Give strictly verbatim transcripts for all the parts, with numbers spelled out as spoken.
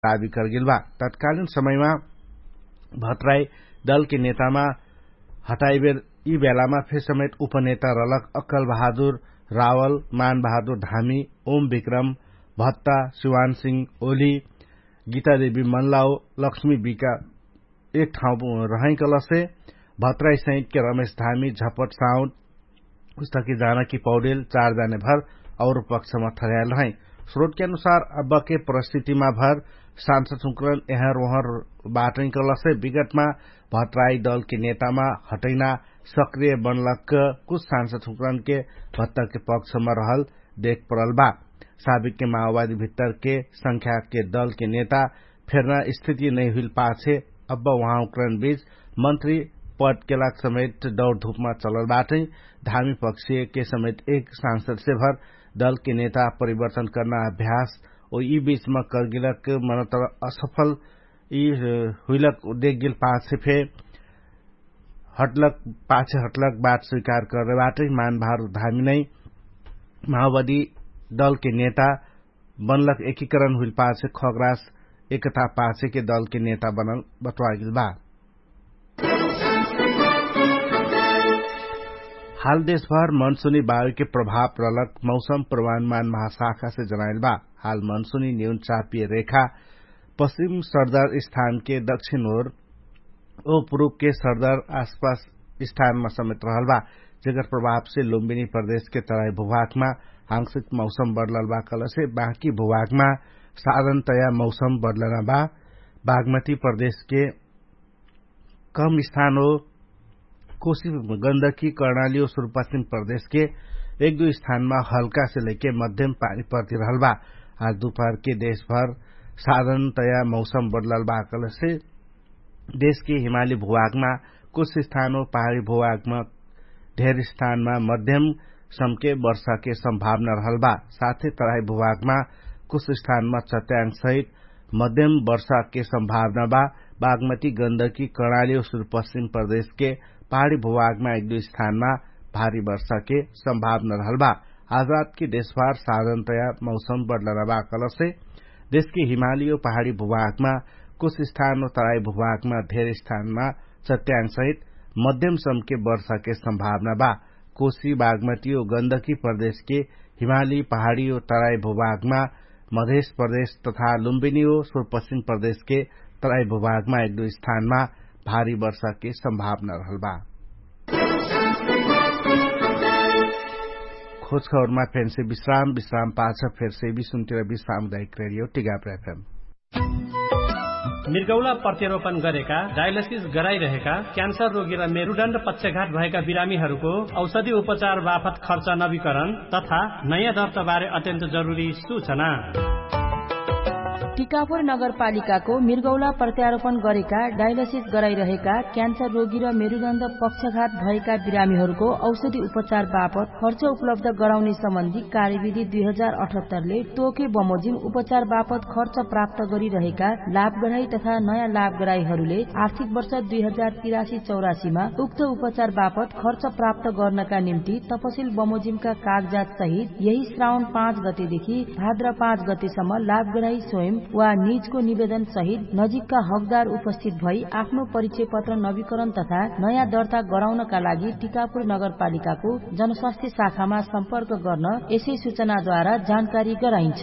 दाबी करगेल बा। तत्कालीन समयमा भतराई दलके नेतामा हटाइबेर यि बेलामा फेर समेत उपनेता रहलक अक्कल बहादुर रावल, मान बहादुर धामी, ओम विक्रम भत्ता, शिवान सिंह ओली, गीता देवी मन्लाओ, लक्ष्मी बिका एक ठाउँ रहै कलसे भतराई सहितके रमेश धामी, झपट साउन्ट, उस्तकी जानकी पौडेल चार जाने भर और पक्षमा ठहरायल रहै। स्रोटके अनुसार अब्बके परिस्थितिमा भर सांसद हुँकरन एहर ओहर बाटै कलसे विगतमा भतराई दलके नेतामा हटैना सक्रिय बनलक कुछ सांसद हुँकरनके भत्ताके पक्षमा रहल देख परल बा। साबिकके माओवादी भित्तरके संख्याके दलके नेता फेर्ना स्थिति नै हुइल पाछे अब्बा उहाँ हुँकरन बीच मन्त्री पदके लाग समेत दौड धुपमा चलल बाटै। धामी पक्षके समेत एक सांसदसे भर दलके नेता परिवर्तन कर्ना अभ्यास ओ यि बीचमा करगेलक मनतर असफल यि हुइलक देख गेल पाछे फे हटलक पाछे हटलक बात स्वीकार कर्रे बाटै। मान भार धामी नै माओवादी दलके नेता बनलक एकीकरण हुइल पाछे खगरास एकता पाछेके दलके नेता बनल बतवागेल बा। हाल देशभर मनसुनी बायुके प्रभाव रहलक मौसम प्रमाणमान महाशाखासे जनाइल बा। हाल मनसुनी न्यून चापिय रेखा पश्चिम सरदार स्थानके दक्षिण ओर ओ पुरुपके सरदार आसपास स्थानमा समेत रहल बा, जेकर प्रभावसे लुम्बिनी प्रदेशके तराई भुभागमा हाङ्सित मौसम बदलल बा कलसे बाँकी भुभागमा साधनतया मौसम बदलना बा। बागमती प्रदेशके कम स्थान हो कोशी गन्दकी कर्णाली हो सुरुपश्चिम प्रदेशके एक दुइ स्थानमा हल्कासे लैके मध्यम पानी पर्ति रहल बा। आज दुपहरके देशभर साधनतया मौसम बदलल बा कलसे देशके हिमाली भुभागमा कुछ स्थान हो पहाडी भुभागमा धेर स्थानमा मध्यम समके वर्षाके सम्भावना रहल बा। साथे तराई भुभागमा कुछ स्थानमा चट्याङ्ग सहित मध्यम वर्षाके सम्भावना बा। बागमती गन्दकी कर्णाली सुरुपश्चिम प्रदेशके पहाडी भुभागमा एक दुइ स्थानमा भारी वर्षाके सम्भावना रहल बा। आज रातके देशभर साधनतया मौसम बदलना बा कलसे देशके हिमाली ओ पहाडी भुभागमा कुछ स्थान ओ तराई भुभागमा धेर स्थानमा चट्याङ्ग सहित मध्यम समके वर्षाके सम्भावना बा। कोशी बागमती ओ गन्दकी प्रदेशके हिमाली पहाडी ओ तराई भुभागमा मधेश प्रदेश तथा लुम्बिनी ओ सुरुपश्चिम प्रदेशके तराई भुभागमा एक दुइ स्थानमा भारी वर्षाके सम्भावना रहल बा। खोजखबरमा फेन्से विश्राम विश्राम पाछ फेर्से विश्राम दैक रेडियो टिगाप एफएम। मिर्गौला प्रत्यारोपण गरेका डायलसिस गराइरहेका क्यान्सर रोगी र मेरुडण्ड पक्षघात भएका बिरामीहरूको औषधि उपचार बापत खर्च नवीकरण तथा नयाँ दर्ताबारे अत्यन्त जरुरी सूचना। टिकापुर नगरपालिकाको मिर्गौला प्रत्यारोपण गरेका डायलसिस गराइरहेका क्यान्सर रोगी र मेरुदण्ड पक्षघात भएका बिरामीहरूको औषधि उपचार बापत खर्च उपलब्ध गराउने सम्बन्धी कार्यविधि दुई हजार अठहत्तरले तोके बमोजिम उपचार बापत खर्च प्राप्त गरिरहेका लाभगराई तथा नयाँ लाभगराईहरूले आर्थिक वर्ष दुई हजार तिरासी चौरासीमा उक्त उपचार बापत खर्च प्राप्त गर्नका निम्ति तपसिल बमोजिमका कागजात सहित यही श्रावण पाँच गतेदेखि भाद्र पाँच गतेसम्म लाभगराई स्वयं वा निजको निवेदन सहित नजिकका हकदार उपस्थित भई आफ्नो परिचय पत्र नवीकरण तथा नयाँ दर्ता गराउनका लागि टिकापुर नगरपालिकाको जनस्वास्थ्य शाखामा सम्पर्क गर्न यसै सूचनाद्वारा जानकारी गराइन्छ।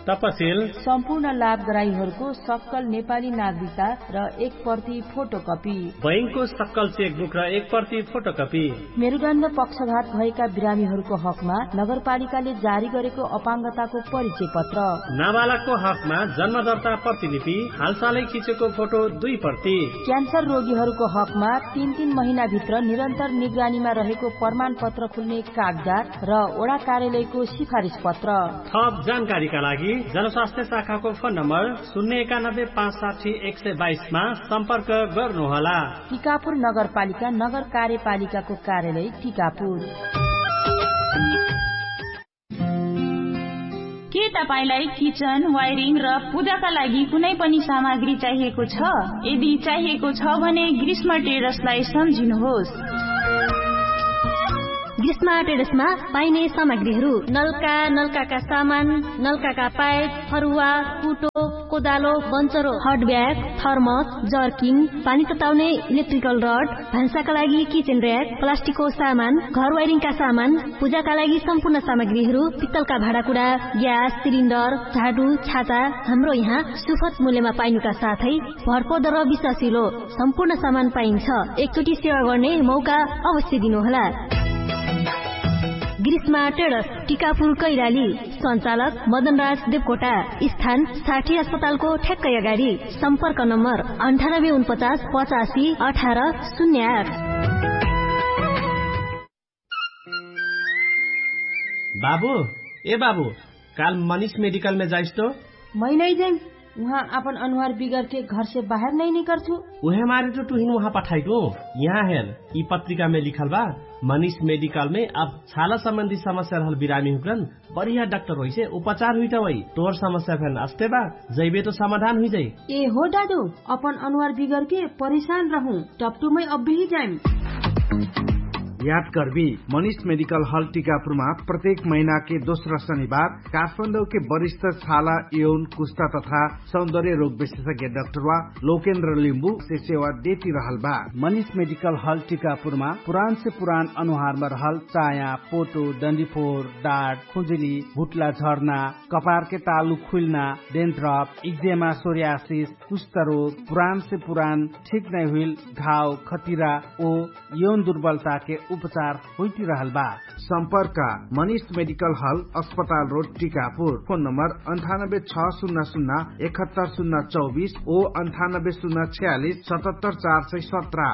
तपसिल सम्पूर्ण लाभगराईहरूको सक्कल नेपाली नागरिकता र एक प्रति फोटोकपी। बैंकको सक्कल चेकबुक र एक प्रति फोटोकपी। मेरुदण्ड पक्षघात भएका बिरामीहरूको हकमा नगरपालिकाले जारी गरेको अपाङ्गताको परिचय पत्र। नाबालकको हकमा जन्मदर्ता प्रतिलिपि, हालसालै खिचेको फोटो दुई प्रति। क्यान्सर रोगीहरूको हकमा तीन तीन महिनाभित्र निरन्तर निगरानीमा रहेको प्रमाणपत्र खुल्ने कागजात र ओडा कार्यालयको सिफारिस पत्र। थप जानकारीका लागि जनस्वास्थ्य शाखाको फोन नम्बर शून्य एकानब्बे पाँच साठी एक सय बाइसमा सम्पर्क गर्नुहोला। टिकापुर नगरपालिका नगर कार्यपालिकाको कार्यालय टिकापुर। के तपाईंलाई किचन वायरिङ र पूजाका लागि कुनै पनि सामग्री चाहिएको छ? यदि चाहिएको छ भने ग्रीष्म टेरसलाई सम्झिनुहोस्। ग्रीष्मा ट्रेडर्समा पाइने सामग्रीहरू नल्का, नल्काका सामान, नल्काका पाइप, फरुवा, कुटो, कोदालो, बन्चरो, हटब्याग, थर्मस, जर्किङ, पानी तताउने इलेक्ट्रिकल रड, भान्साका लागि किचेन र्याक, प्लास्टिकको सामान, घर वाइरिङका सामान, पूजाका लागि सम्पूर्ण सामग्रीहरू, पित्तलका भाँडाकुडा, ग्यास सिलिन्डर, झाडु, छाता, हाम्रो यहाँ सुफत मूल्यमा पाइनुका साथै भरपर्दो र विश्वासिलो सम्पूर्ण सामान पाइन्छ। एकचोटि सेवा गर्ने मौका अवश्य दिनुहोला। ग्रीष्मा ट्रेडर्स, टिकापुर कैलाली। सञ्चालक मदनराज देवकोटा। स्थान साठी अस्पतालको ठ्याक्कै अगाडि। सम्पर्क नम्बर अन्ठानब्बे उनपचास पचासी अठार शून्य आठ। बाबु, ए बाबु, काल मनिष मेडिकलमे जाइस तो? मै नै जैम। उहाँ आपन अनुहार बिगरके घरसे बाहेर नै निकर्छु। उहे मारे तो टुहिन उहाँ पठाइटु। यहाँ हेर, यि पत्रिकामे लिखल बा। मनिष मेडिकलमे अब छाला सम्बन्धी समस्या रहल बिरामी हुक्रन, बढिया डाक्टर होइसे उपचार हुइटा होइ। तोर समस्या फेन अस्ते बा, जैबे तो समाधान हुइजाइ। ए हो डाडु, अपन अनुहार बिगरके परिशान रहु। टपटुमै अब्बेही जाइम। याद कर्बी, मनिष मेडिकल हल टिकापुरमा प्रत्येक महिनाके दोस्रा शनिबार काठमाडौके वरिष्ठ छाला यौन कुस्ता तथा सौन्दर्य रोग विशेषज्ञ डाक्टरवा लोकेन्द्र लिम्बुसे सेवा देति रहल बा। मनिष मेडिकल हल टिकापुरमा पुरानसे पुरान अनुहारमा रहल चाया, पोटो, डन्डिफोर, डाट, खुजुली, भुट्ला झर्ना, कपारके तालु खुइल्ना, डेन्ट्रप, इक्जेमा, सोर्यासिस, कुष्ठरोग, पुरानसे पुरान ठिक नै हुइल घाव, खतिरा ओ यौन दुर्बलताके उपचार होइटिरहल बा। सम्पर्क मनिष मेडिकल हल, अस्पताल रोड, टिकापुर। फोन नम्बर अन्ठानब्बे छ सुन्ना सुन्ना एकहत्तर सुन्ना चौबिस ओ अन्ठानब्बे सुन्ना छयालिस सतहत्तर चार सय सत्र।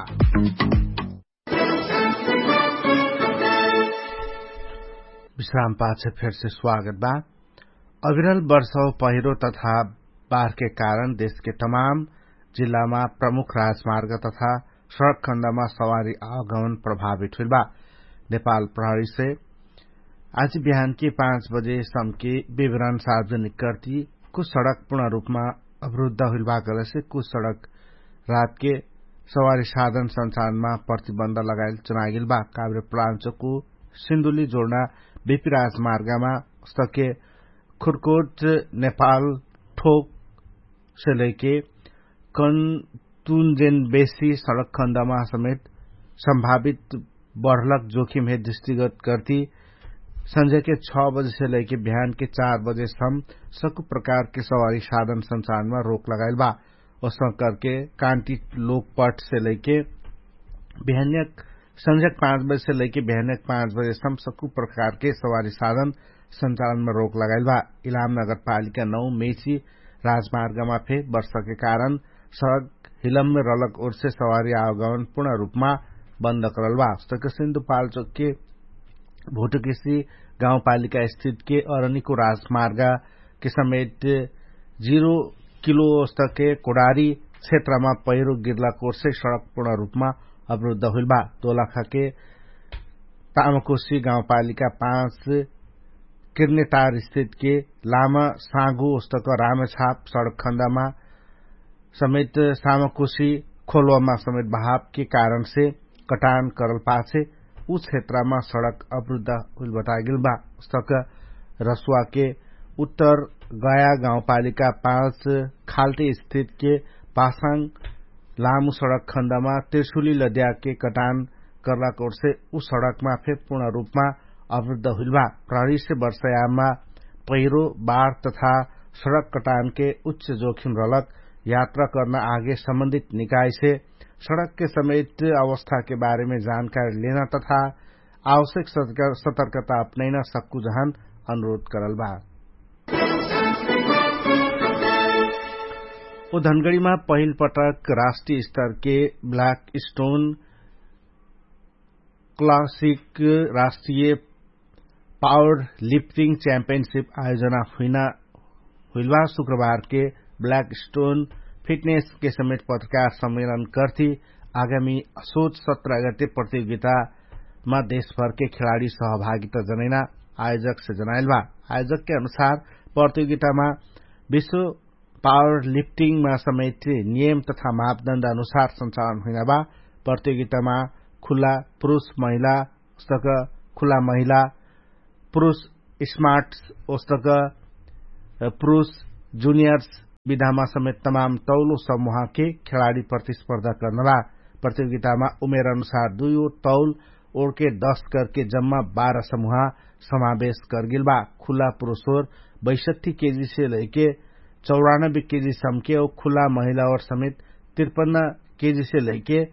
विश्राम पाछ फेरसे स्वागत बा। अविरल वर्षाव पहिरो तथा बारके कारण देशके तमाम जिल्लामा प्रमुख राजमार्ग तथा सडक खण्डमा सवारी आवागमन प्रभावित हुइल बा। नेपाल प्रहरीसे आज बिहानके पाँच बजे सम्के विवरण सार्वजनिक कर्ति कुछ सडक पूर्ण रूपमा अवरुद्ध हुइल बा कहलेसे कुछ सडक रातके सवारी साधन सञ्चालनमा प्रतिबन्ध लगाइल चुनागेल बा। काभ्रे प्लान्चोकु सिन्धुली जोड्ना बिपी राजमार्गमा स्तके खुर्कोट नेपाल ठोकसे लैके कन्तुन्जेन बेसी सडक खण्डमा समेत सम्भावित बढलक जोखिम हे दृष्टिगत कर्ति सन्झ्याके छ बजेसे लैके बिहानके चार बजेसम सकु प्रकारके सवारी साधन सञ्चालनमा रोक लगाइल बा। ओसङ्करके कान्ति लोकपटसे लैके बिहान्यक सन्झ्याक पाँच बजेसे लैके बिहान्यक पाँच बजेसम सकु प्रकारके सवारी साधन सञ्चालनमा रोक लगाइल बा। इलाम नगरपालिका नौ मेची राजमार्गमा फे वर्षाके कारण सडक हिलममे रलक ओर्से सवारी आवागमन पूर्ण रूपमा बन्द करल बा। सके सिन्धुपाल्चोकके भोटोकेसी गाउँपालिका स्थितके अरनिको राजमार्गके समेत जिरो किलो स्तके कोडारी क्षेत्रमा पहिरो गिर्लाक ओर्से सडक पूर्ण रूपमा अवरुद्ध हुइल बा। दोलाखाके तामकोसी गाउँपालिका पाँच किर्नेटार स्थितके लामा साँगु ओस्तक रामेछाप सडक खण्डमा समेत सामकोसी खोलवामा समेत बहावके कारणसे कटान करल पाछे उ क्षेत्रमा सडक अवरुद्ध हुइल बतागेल बा। ओस्तक रसुवाके उत्तर गया गाउँपालिका पाँच खाल्टे स्थितके पासाङ लामु सडक खण्डमा त्रिशुली लद्याके कटान करलाक ओर्से उ सडकमा फे पूर्ण रूपमा अवरुद्ध हुइल बा। प्रहरीसे वर्षयामा पहिरो बाढ तथा सडक कटानके उच्च जोखिम रहलक यात्रा कर्ना आगे सम्बन्धित निकायसे सडकके समेत अवस्थाके बारेमे जानकारी लेना तथा आवश्यक सतर्कता अपनैना सक्कु जहन अनुरोध करल बा। ओ धनगडीमा पहिल पटक राष्ट्रिय स्तरके ब्ल्याक स्टोन क्लासिक राष्ट्रिय पावर लिफ्टिङ च्याम्पियनसिप आयोजना हुइना हुइलबा। शुक्रबारके ब्ल्याक स्टोन फिटनेसके समेत पत्रकार सम्मेलन कर्ति आगामी सोच सत्र अगते प्रतियोगितामा देशभरके खेलाडी सहभागिता जनैना आयोजकसे जनाइलबा। आयोजकके अनुसार प्रतियोगितामा विश्व पावर लिफ्टिङमा समेत नियम तथा मापदण्ड अनुसार सञ्चालन हुइनाबा। प्रतियोगितामा खुल्ला पुरुष महिला उस्तक खुला महिला पुरुष स्मार्ट्स ओस्तक पुरुष जुनियर्स विधामा समेत तमाम तौलो समुहाके खेलाडी प्रतिस्पर्धा कर्नबा। प्रतियोगितामा उमेर अनुसार दुइयो तौल ओर्के दस करके जम्मा बाह्र समुहा समावेश करगेलबा। खुला पुरुषोर बैसठ्ठी केजी से लैके चौरानब्बे केजी सम्के औ खुला महिलाओर समेत तिरपन्न केजी से लैके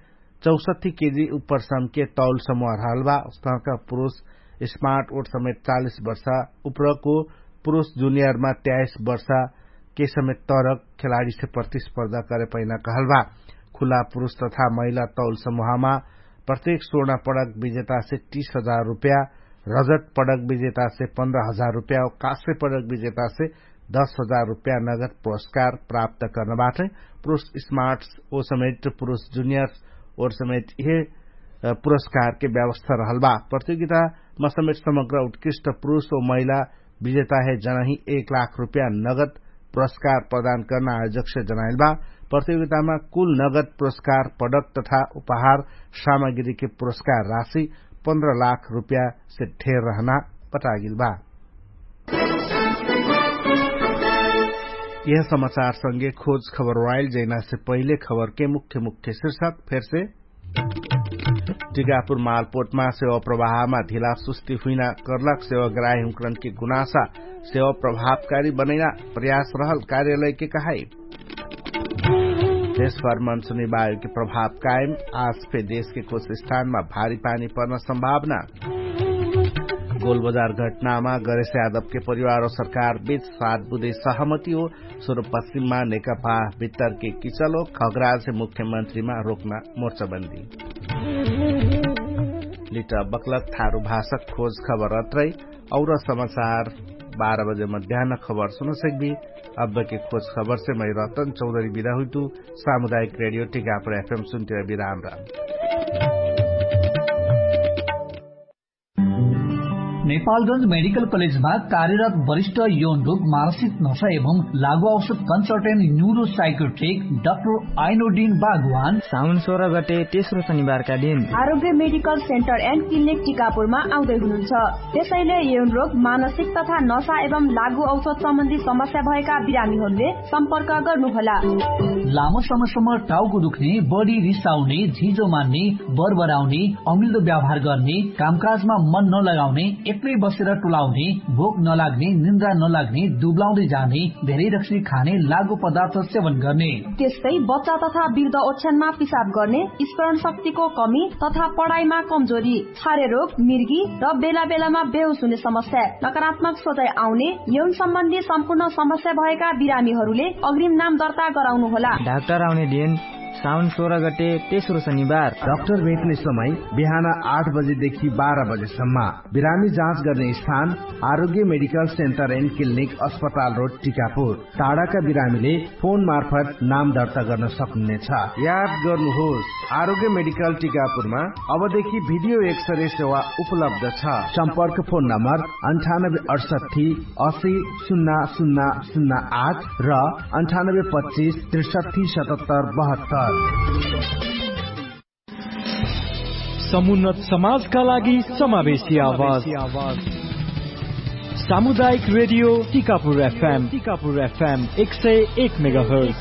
चौसठ्ठी केजी उप्पर सम्के तौल समुहा रहलबा। उसनका पुरुष स्मार्ट ओर समेत चालिस वर्षा उप्परको पुरुष जुनियरमा त्याइस वर्षा के समेत तरक खेलाडीसे प्रतिस्पर्धा करे पैना कहलबा। खुला पुरुष तथा महिला तौल समुहामा प्रत्येक स्वर्ण पडक विजेतासे तीस हजार रुप्या, रजत पडक विजेतासे पन्ध्र हजार रुप्या औ काश्य पडक विजेतासे दस हजार रुप्या नगद पुरस्कार प्राप्त कर्नबाटै। पुरुष स्मार्ट्स ओ समेत पुरुष जुनियर्स ओर समेत इहे पुरस्कारके व्यवस्था रहलबा। प्रतियोगितामा समेत समग्र उत्कृष्ट पुरुष ओ महिला विजेताहे जनही एक लाख रुप्या नगद पुरस्कार प्रदान कर्ना आयोजकसे जनाइलबा। प्रतियोगितामा कुल नगद पुरस्कार पडक तथा उपहार सामग्रीके पुरस्कार राशि पन्ध्र लाख रुप्यासे ढेर रहना बतागेलबा। यह समाचार संगे खोज खबर वाइल जैनासे पहिले खबरके मुख्य मुख्य शीर्षक फेरसे। टिकापुर मालपोटमा सेवा प्रवाहमा ढिला सुस्ती हुइना कर्लाक सेवा ग्राही हुँकरनके गुनासा सेवा प्रभावकारी बनैना प्रयास रहल कार्यालयके कहाई। देशभर मनसुनी वायुके प्रभाव कायम। आज फे देशके कुछ स्थानमा भारी पानी पर्न सम्भावना। गोलबजार घटनामा गरेश यादवके परिवार औ सरकार बिच सात बुधे सहमति हो। सुरुपश्चिममा नेकपा भित्तरके किचलो खगराजसे मुख्यमन्त्रीमा रोक्न मोर्चाबन्दी। लिट बक्लक थारु भाषक खोज खबर अत्रै। और समाचार बाह्र बजे मध्यान्न खबर सुनसक्बी। अब्बके खोज खबरसे मै रतन चौधरी बिदा हुइतु। सामुदायिक रेडियो टिकापुर एफएम सुन्तिर बिराम राम। नेपालगंज मेडिकल कलेजमा कार्यरत वरिष्ठ यौन रोग, मानसिक नशा एवं लागु औषध कन्सल्टेन्ट न्युरोसाइकोट्रिक डाक्टर आइनोडिन बागवान साउन सोह्र गते तेस्रो शनिबारका दिन आरोग्य मेडिकल सेन्टर एन्ड क्लिनिक टिकापुरमा आउँदै हुनुहुन्छ। त्यसैले यौन रोग, मानसिक तथा नशा एवं लागु औषध सम्बन्धी समस्या भएका बिरामीहरूले सम्पर्क गर्नुहोला। लामो समयसम्म टाउको दुख्ने, बढी रिसाउने, झिजो मान्ने, बरबराउने, अमिल्दो व्यवहार गर्ने, कामकाजमा मन नलगाउने, एक्लै बसेर टुलाउने, भोक नलाग्ने, निन्द्रा नलाग्ने, दुब्लाउँदै जाने, धेरै रक्सी खाने, लागु पदार्थ सेवन गर्ने, त्यस्तै बच्चा तथा वृद्ध ओछ्यानमा पिसाब गर्ने, स्मरण शक्तिको कमी तथा पढाइमा कमजोरी, छारे रोग, मिर्गी र बेला बेलामा बेहोस हुने समस्या, नकारात्मक सोचाइ आउने, यौन सम्बन्धी सम्पूर्ण समस्या भएका बिरामीहरूले अग्रिम नाम दर्ता गराउनुहोला। डाक्टर आउने दिन साउन सोह्र गते तेस्रो शनिबार। डाक्टर भेट्ने समय बिहान आठ बजेदेखि बाह्र बजेसम्म। बिरामी जाँच गर्ने स्थान आरोग्य मेडिकल सेन्टर एन्ड क्लिनिक, अस्पताल रोड, टिकापुर। टाढाका बिरामीले फोन मार्फत नाम दर्ता गर्न सक्नुहुनेछ। याद गर्नुहोस्, आरोग्य मेडिकल टिकापुरमा अबदेखि भिडियो एक्सरे सेवा उपलब्ध छ। सम्पर्क फोन नम्बर अन्ठानब्बे अठसट्ठी असी सुन्ना सुन्ना सुन्ना आठ र अन्ठानब्बे पच्चिस त्रिसट्ठी सतहत्तर बहत्तर। समुन्नत समाजका लागि समावेशी आवाज। सामुदायिक रेडियो टिकापुर एफएम, टिकापुर एफएम एक सय एक मेगाहर्ज।